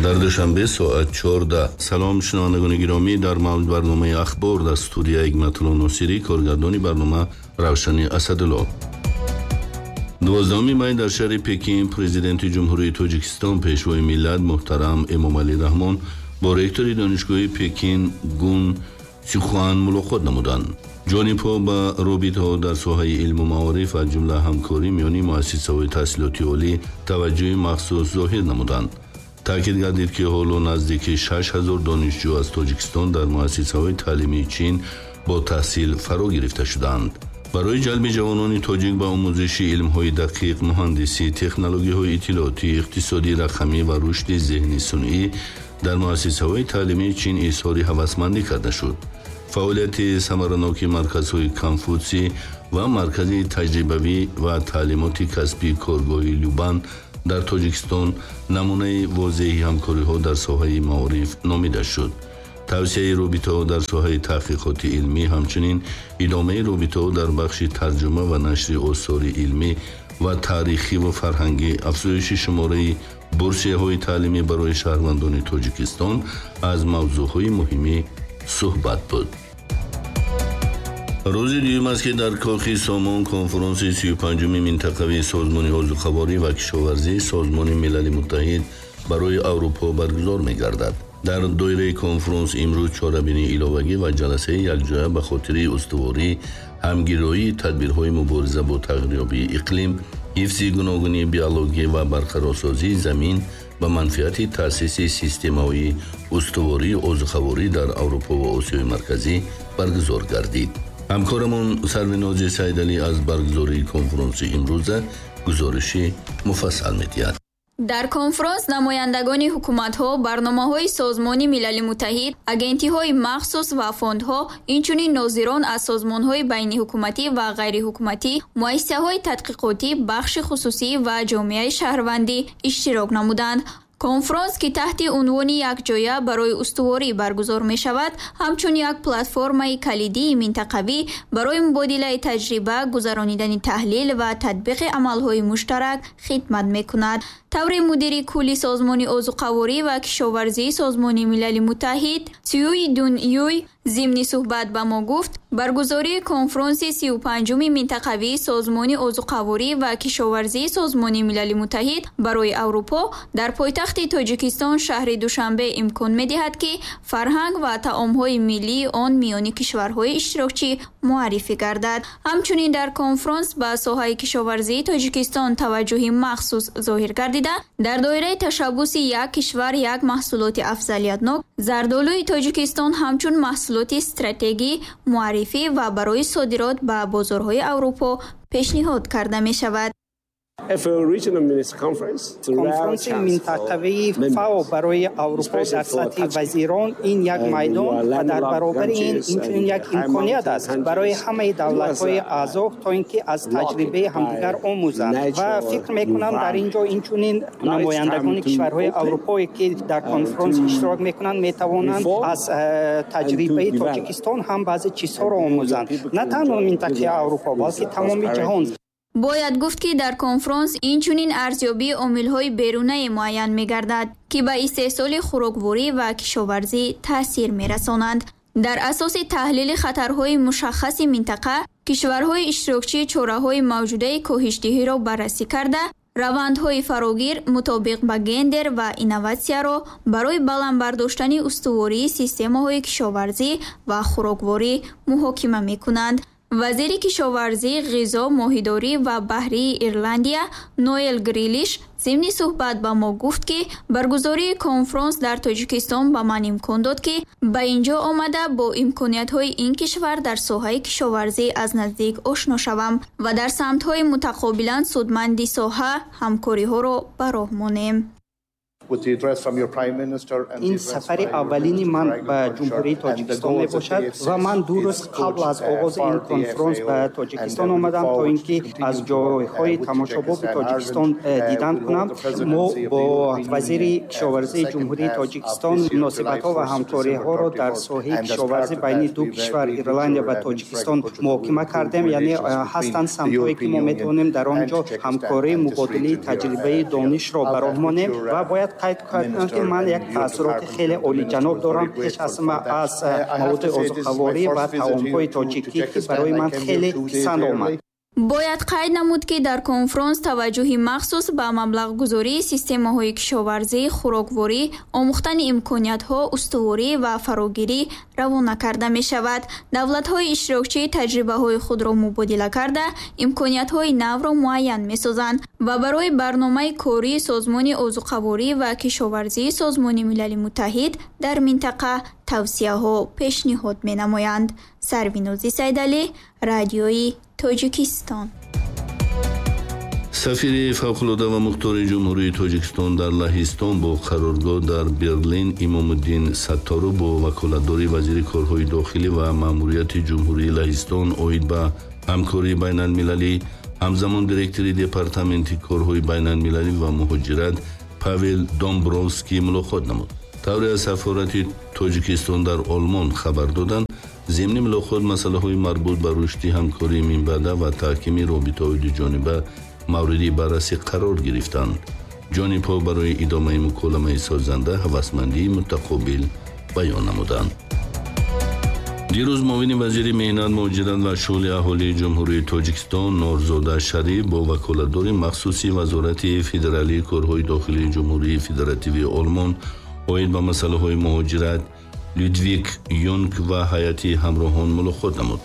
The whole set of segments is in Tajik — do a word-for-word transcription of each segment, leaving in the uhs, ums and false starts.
Дар Душанбе соат чордаҳ. Салом, шунавандагони гиромӣ, дар мавҷ барномаи Ахбор дар студия Ҳикматулло Носирӣ, коргардони барнома Равшани Асадулло. Дувоздаҳуми май дар шаҳри Пекин президенти Ҷумҳурии Тоҷикистон, пешвои миллат муҳтарам Эмомалӣ Раҳмон бо ректори донишгоҳи Пекин Гун Сихуан мулоқот намуданд. Ҷонибҳо ба робитаҳо дар соҳаи илму маориф, аз ҷумла ҳамкорӣ миёни муассисаҳои таҳсилоти олӣ таваҷҷӯҳи махсус зоҳир намуданд. Таъкид гардид, ки ҳоло наздики шаш ҳазор донишҷӯ аз Тоҷикистон дар муассисаҳои таълимии Чин бо таҳсил фаро гирифта шудаанд. Барои ҷалби ҷавонони тоҷик ба омӯзиши илмҳои дақиқ, муҳандисӣ, технологияҳои иттилоотӣ, иқтисодӣ, рақамӣ ва рушди зеҳни сунъӣ дар муассисаҳои таълимии Чин изҳори ҳавасмандӣ карда шуд. Фаъолияти самараноки марказҳои Конфутсий ва маркази таҷрибавӣ ва таълимоти касбии коргоҳи Любан дар Тоҷикистон намунаи возеҳи ҳамкориҳо дар соҳаи маориф номида шуд. Тавсияи робитаҳо дар соҳаи таҳқиқоти илмӣ, ҳамчунин идомаи робитаҳо дар бахши тарҷума ва нашри осори илмӣ ва таърихӣ ва фарҳангӣ, афзоиши шумораи бурсияҳои таълимӣ барои шаҳрвандони Тоҷикистон аз мавзӯъҳои муҳими суҳбат буд. Рӯзи дуюм аст, ки дар Кохи Сомон конфронси сию панҷуми минтақавии Созмони озуқаворӣ ва кишоварзии Созмони Милали Муттаҳид барои Аврупо баргузор мегардад. Дар доираи конфронс имрӯз чорабинии иловагӣ ва ҷаласаи якҷоя ба хотири устуворӣ, ҳамгироии тадбирҳои мубориза бо тағйирёбии иқлим, ҳифзи гуногунии биологӣ ва барқарорсозии замин ба манфиати таъсиси системаҳои устувории озуқаворӣ дар Аврупо ва Осиёи Марказӣ баргузор гардид. Ҳамкорамон Сарвинози Сайдалӣ аз баргузории конфронси имрӯза гузориши муфассал медиҳад. Дар конфронс намояндагони ҳукуматҳо, барномаҳои Созмони Милали Муттаҳид, агентиҳои махсус ва фондҳо, инчунин нозирон аз созмонҳои байниҳукуматӣ ва ғайриҳукуматӣ, муассисаҳои тадқиқотӣ, бахши хусусӣ ва ҷомеаи шаҳрвандӣ иштирок намуданд. Конфронс, ки таҳти унвони якҷоя барои устуворӣ баргузор мешавад, ҳамчун як платформаи калидии минтақавӣ барои мубодилаи таҷриба, гузаронидани таҳлил ва татбиқи амалҳои муштарак хидмат мекунад. Таври мудири кулли Созмони озуқаворӣ ва кишоварзии Созмони Милали Муттаҳид Цюй Дун Юй зимни суҳбат ба мо гуфт, баргузории конфронси сию панҷуми минтақавии Созмони озуқаворӣ ва кишоварзии Созмони Милали Муттаҳид барои Аврупо дар пойтахти Тоҷикистон шаҳри Душанбе имкон медиҳад, ки фарҳанг ва таомҳои миллии он миёни кишварҳои иштирокчӣ муаррифӣ гардад. Ҳамчунин дар конфронс ба соҳаи кишоварзии Тоҷикистон таваҷҷӯҳи махсус зоҳир гардида, дар доираи ташаббуси як кишвар як маҳсулоти афзалиятнок зардолуи Тоҷикистон ҳамчун маҳсулоти стратегӣ муаррифӣ ва барои содирот ба бозорҳои Аврупо пешниҳод карда мешавад. Конфронси минтақавии ФАО барои Аврупо дар сатҳи вазирон ин як майдон ва дар баробари ин инчунин як имконият аст барои ҳамаи давлатҳои аъзо то ин ки аз таҷрибаи ҳамдигар омӯзанд ва фикр мекунам дар ин ҷо инчунин намояндагони кишварҳои аврупое ки дар конфронс иштирок мекунанд метавонанд аз таҷрибаи Тоҷикистон ҳам баъзе чизҳоро омӯзанд, на танҳо минтақаи Аврупо балки тамоми ҷаҳон. Бояд гуфт, ки дар конфронс инчунин арзёбии омилҳои берунае муайян мегардад, ки ба истеҳсоли хӯрокворӣ ва кишоварзӣ таъсир мерасонанд. Дар асоси таҳлили хатарҳои мушаххаси минтақа, кишварҳои иштирокчӣ чораҳои мавҷудаи коҳишдиҳиро баррасӣ карда, равандҳои фарогир мутобиқ ба гендер ва инноватсияро барои баланд бардоштани устувории системаҳои кишоварзӣ ва хӯрокворӣ муҳокима мекунанд. Вазири кишоварзӣ, ғизо, моҳидорӣ ва баҳрии Ирландия Ноэл Грилиш зимни суҳбат ба мо гуфт, ки баргузории конфронс дар Тоҷикистон ба ман имкон дод, ки ба ин ҷо омада бо имкониятҳои ин кишвар дар соҳаи кишоварзӣ аз наздик ошно шавам ва дар самтҳои мутақобилан судманди соҳа ҳамкориҳоро ба роҳ монем. Ин сафари аввалини ман ба Ҷумҳурии Тоҷикистон мебошад ва ман ду рӯз қабл аз оғози ин конфронс ба Тоҷикистон омадам, то ин ки аз ҷойҳои тамошобоби Тоҷикистон дидан кунам. Мо бо вазири кишоварзии Ҷумҳурии Тоҷикистон муносибатҳо ва ҳамкориҳоро дар соҳаи кишоварзӣ байни ду кишвар, Ирландия ва Тоҷикистон, муҳокима кардем. Яъне ҳастанд самтҳое, ки мо метавонем дар он ҷо ҳамкории, мубодилаи таҷрибаи донишро ба роҳ монем. Ва бояд қайд кардам, ки ман як таассуроти хеле олиҷаноб дорам пеш аз ҳама аз маводи озуқаворӣ ва таомҳои тоҷикӣ, ки барои ман хеле писанд омад. Бояд қайд намуд, ки дар конфронс таваҷҷӯҳи махсус ба маблағгузории системаҳои кишоварзӣ, хӯрокворӣ, омӯхтани имкониятҳо, устуворӣ ва фарогирӣ равона карда мешавад. Давлатҳои иштирокчӣ таҷрибаҳои худро мубодила карда, имкониятҳои навро муайян месозанд ва барои барномаи кории Созмони озуқаворӣ ва кишоварзии Созмони Милали Муттаҳид дар минтақа тавсияҳо пешниҳод менамоянд. Сарвинози Сайдалӣ, Радиои Тоҷикистон. Сафири фавқулода ва мухтори Ҷумҳурии Тоҷикистон дар Лаҳистон бо қароргоҳ дар Берлин Имомуддин Сатторов бо ваколатдори вазири корҳои дохилӣ ва маъмурияти Ҷумҳурии Лаҳистон оид ба ҳамкории байналмилалӣ, ҳамзамон директори департаменти корҳои байналмилалӣ ва муҳоҷират Павел Домбровский мулоқот намуд. Тавре аз сафорати Тоҷикистон дар Олмон хабар доданд, зимни мулоқот масъалаҳои марбут ба рушди ҳамкории минбаъда ва таҳкими робитаҳои дуҷониба мавриди баррасӣ қарор гирифтанд. Ҷонибҳо барои идомаи муколамаи созанда ҳавасмандии мутақобил баён намуданд. Дирӯз муовини вазири меҳнат, муҳоҷират ва шуғли аҳолии Ҷумҳурии Тоҷикистон Норзода Шариф бо ваколатдори махсуси Вазорати федералии корҳои дохилии Ҷумҳурии Федеративии Олмон оид ба масъалаҳои муҳоҷират Людвиг Юнг ва ҳайати ҳамроҳон мулоқот намуд.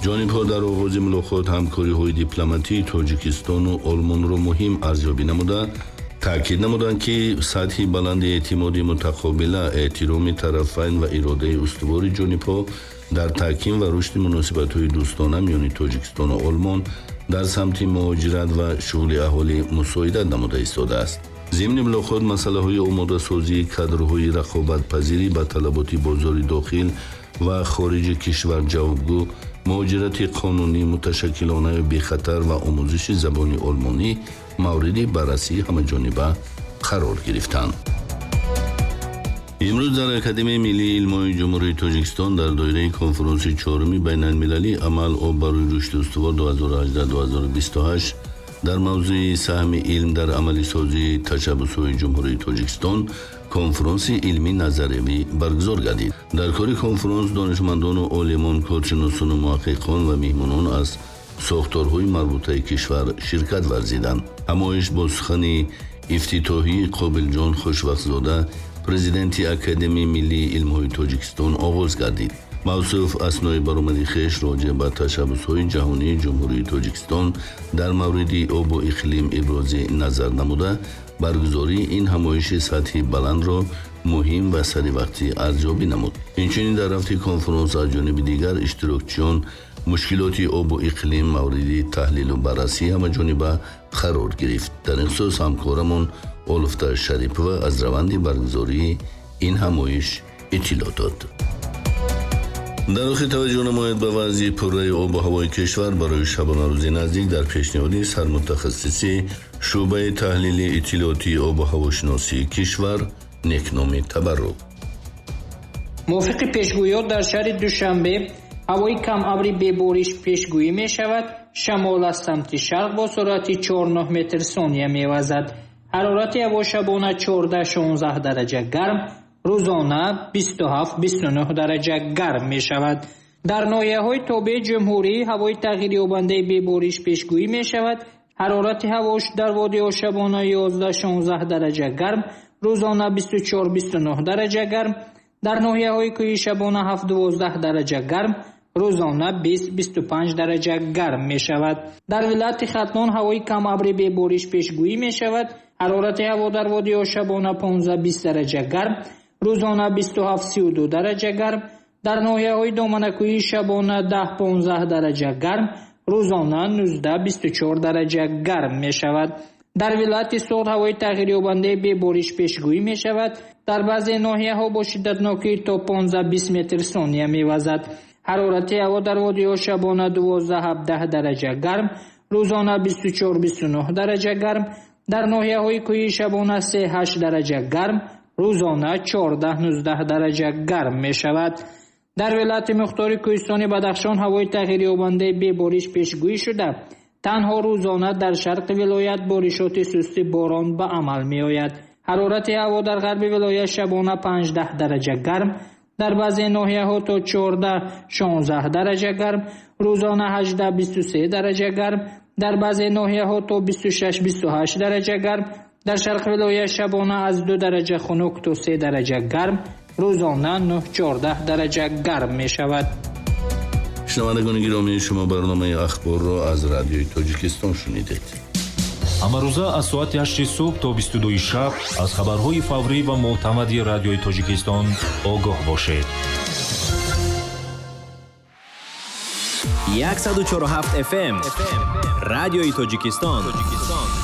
Ҷонибҳо дар оғози мулоқот ҳамкориҳои дипломатии Тоҷикистону Олмонро муҳим арзёбӣ намуда, таъкид намуданд, ки сатҳи баланди эътимоди мутақобила, эҳтироми тарафайн ва иродаи устувори ҷонибҳо дар таҳким ва рушди муносибатҳои дӯстона миёни Тоҷикистону Олмон дар самти муҳоҷират ва шуғли аҳолӣ мусоидат намуда истодааст. Зимни мулоқот масъалаҳои омодасозии кадрҳои рақобатпазирӣ ба талаботи бозори дохил ва хориҷи кишвар ҷавобгӯ, муҳоҷирати қонунӣ, муташаккилонаю бехатар ва омӯзиши забони олмонӣ мавриди баррасии ҳамаҷониба қарор гирифтанд. Имрӯз дар Академияи миллии илмҳои Ҷумҳурии Тоҷикистон дар доираи конфронси чоруми байналмилалии «Амал об барои рушди устувор ду ҳазору ҳаждаҳ ду ҳазору бисту ҳашт» дар мавзӯи саҳми илм дар амалисозии ташаббусҳои Ҷумҳурии Тоҷикистон конфронси илмӣ назариявӣ баргузор гардид. Дар кори конфронс донишмандону олимон, коршиносону муҳаққиқон ва меҳмонон аз сохторҳои марбутаи кишвар ширкат варзиданд. Ҳамоиш бо сухани ифтитоҳии Қобилҷон Хушвақтзода, президенти Академияи миллии илмҳои Тоҷикистон, оғоз гардид. Мавсуф аснои баромади хеш роҷеъ ба ташаббусҳои ҷаҳонии Ҷумҳурии Тоҷикистон дар мавриди обу иқлим ибрози назар намуда, баргузории ин ҳамоиши сатҳи баландро муҳим ва саривақтӣ арзёбӣ намуд. Инчунин дар рафти конфронс аз ҷониби дигар иштирокчиён мушкилоти обу иқлим мавриди таҳлилу баррасӣ ҳамаҷониба қарор гирифт. Дар ин хусус ҳамкорамон Олуфта Шарипова аз раванди баргузории ин ҳамоиш иттилоъ дод. Дар охир таваҷҷӯҳ намояд ба вазъи пурраи обу ҳавои кишвар барои шабонарӯзи наздик дар пешниҳоди сармутахассиси шӯъбаи таҳлили иттилоотии обу ҳавошиносии кишвар Некноми Табаррук. Мувофиқи пешгӯиёт дар шаҳри Душанбе ҳавои камабри бебориш пешгӯӣ мешавад. Шамол аз самти шарқ бо суръати чор нӯҳ метр сония мевазад. Ҳарорати ҳаво шабона чордаҳ шонздаҳ дараҷа гарм, рӯзона бисту ҳафт бисту нӯҳ дараҷа гарм мешавад. Дар ноҳияҳои тобеи ҷумҳурӣ ҳавои тағйирёбандаи бебориш пешгӯӣ мешавад. Ҳарорати ҳаво дар водиҳо шабона ёздаҳ шонздаҳ дараҷа гарм, рӯзона бисту чор бисту нӯҳ дараҷа гарм. Дар ноҳияҳои кӯҳӣ шабона ҳафт дувоздаҳ дараҷа гарм, рӯзона бист бисту панҷ дараҷа гарм мешавад. Дар вилояти Хатлон ҳавои камабри бебориш пешгӯӣ мешавад. Ҳарорати ҳаво дар водиҳо шабона понздаҳ бист дараҷа гарм, рӯзона бисту ҳафт сию ду дараҷа гарм. Дар ноҳияҳои доманакӯҳӣ шабона даҳ понздаҳ дараҷа гарм, рӯзона нуздаҳ бисту чор дараҷа гарм мешавад. Дар вилояти Суғд ҳавои тағйирёбандаи бебориш пешгӯӣ мешавад. Дар баъзе ноҳияҳо бо шиддатнокӣ то понздаҳ-бист метр сония мевазад. Ҳарорати ҳаво дар водиҳо шабона дувоздаҳ-ҳабдаҳ дараҷа гарм, рӯзона бисту чор-бисту нӯҳ дараҷа гарм, дар ноҳияҳои кӯҳӣ шабона се-ҳашт дараҷа гарм, рӯзона чордаҳ-нуздаҳ дараҷа гарм мешавад. Дар вилояти мухтори кӯҳистони Бадахшон ҳавои тағйирёбандаи бебориш пешгӯӣ шуда, танҳо рӯзона дар шарқи вилоят боришоти сусти борон ба амал меояд. Ҳарорати ҳаво дар ғарби вилоят шабона панҷдаҳ дараҷа гарм, дар баъзе ноҳияҳо то чордаҳ-шонздаҳ дараҷа гарм, рӯзона ҳаждаҳ-бисту се дараҷа гарм, дар баъзе ноҳияҳо то бисту шаш-бисту ҳашт дараҷа гарм, дар шарқи вилоят шабона аз ду дараҷа хунук то се дараҷа гарм, рӯзона нӯҳ-чордаҳ дараҷа гарм мешавад. Шунавандагони гиромӣ, шумо барномаи ахборро аз радиои Тоҷикистон шунидед. Ҳамарӯза аз соати ҳашти субҳ то бисту дуи шаб аз хабарҳои фаврӣ ва мӯътамади радиои Тоҷикистон огоҳ бошед. Яксаду чору ҳафт эф эм Радиои Тоҷикистон.